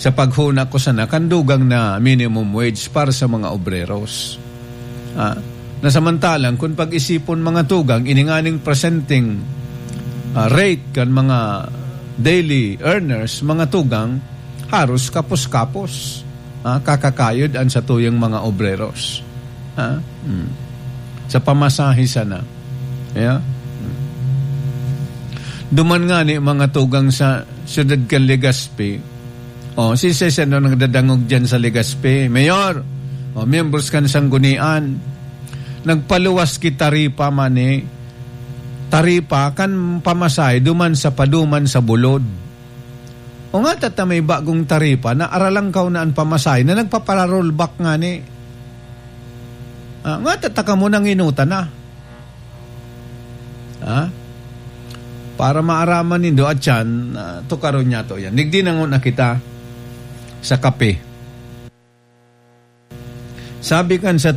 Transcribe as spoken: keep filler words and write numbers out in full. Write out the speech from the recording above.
sa paghuna ko sana kan dugang na minimum wage para sa mga obreros. Ah, na samantalang kun pag-isipon, mga tugang, ini nganing presenteng, ah, rate kan mga daily earners, mga tugang, haros kapos-kapos, ah, kakakayod an satuyang mga obreros. Ah, hmm. Sa pamasahe sana. Yeah? Hmm. Duman ngani, mga tugang, sa siyudad kan Legazpi, oh, si Cesar na nagdadangog diyan sa Legazpi, Mayor, oh, miyembros kan sanggunian, nagpaluwas ki taripa man, eh, taripa kan pamasahe duman sa paduman sa Bulod. O nga, tata may bagong taripa na aralangkaw na an pamasahe na nagpapara-rollback ngani. Ah, nga, tata kamo nanginuta na. Ha? Para maaraman nindo, at yan, ah, tukaron niya to yan. Nigdi na nguna kita sa kape. Sabi kan sa